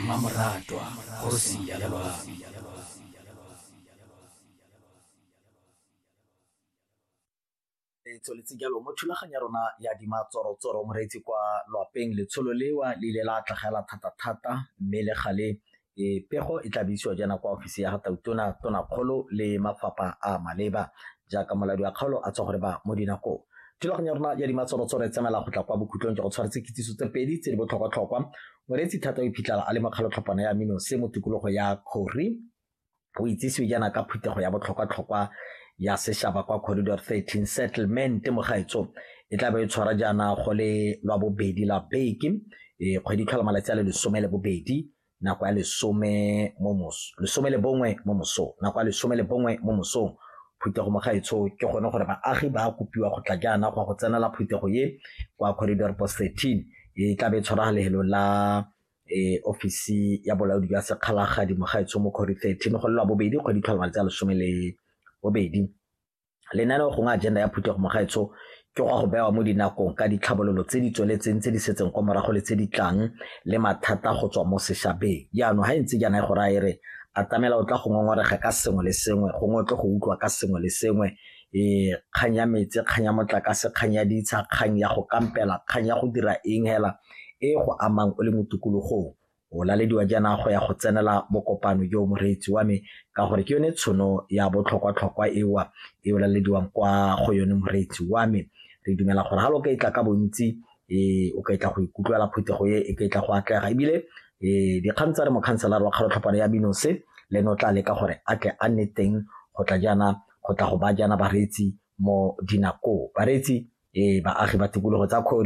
Mmamoratwa, kgosi ya loabi. E tsweletse jalo mo thulaganyo ya rona ya dimatsorotsoro moreetsi kwa lwapeng letsholo lewa le ile la tlhagela thata-thata mme le gale pego e tla buisiwa jaana kwa ofisi ya ga tautona, tonakgolo le mafapha a maleba jaaka molaodi wa kgaolo a tswa gore ba mo dinakong. Thulaganyo ya rona ya dimatsorotsoro e tsamaela go tla kwa bokhutlong jwa go tshwaretse kitsiso tse pedi tse di botlhokwa-tlhokwa. Moreetsi thata o iphitlhela a le mo kgalotlhophana ya mino se mo tikologo ya Kgori o itsisiwe jaana ka phuthego ya botlhokwa-tlhokwa ya sešaba kwa Corridor 13 Settlement mo gaetsho e tla be e tshwara jaana go le lwa bobedi la beke e kgwedi tlhola malatsi a le 12 nako ya lesome mo moso 11 mo mosong nako ya 11 mo mosong phuthego mo gaetsho ke gone gore baagi ba kopiwa go tla jaana go ya go tsenela phuthego ye kwa Corridor Post 13 e tla be e tshwara lefelo la ofisi ya bolaodi jwa sekgalagadi mo gaetsho mo Corridor 13 go le lwa bobedi kgwedi tlhola malatsi a 12. Lenaneo gongwe agenda ya phuthego mo gaetsho ke go go bewa mo dinakong ka ditlhabololo tse di tsweletseng tse di setseng kwa morago le tse di tlang le mathata go tswa mo sešabeng. Jaanong ga e ntse jaana e go raya e re atamela o tla go ngongorega ka sengwe le sengwe gongwe o tle go utlwa ka sengwe le sengwe kgang ya metsi, kgang ya motlakase, kgang ya ditsha, kgang ya go kampela, kgang ya go dira eng hela e go amang o le mo tikologong. O lalediwa jaana go ya go tsenela bokopano jo moreetsi wa me ka gore ke yone tshono ya botlhokwa-tlhokwa ewa e o lalediwang kwa go yone moreetsi wa me. Re dumela gore ha lo ka etla ka bontsi o ka etla go ikutlwela phuthego e e ka etla go atlega ebile dikgang tsa re mokhanselara wa kgalotlhophano ya Binose le ene o tla leka gore a tle a nne teng go tla jaana go tla go ba jaana bareetsi mo dinakong. Bareetsi baagi ba tikologo tsa Kgori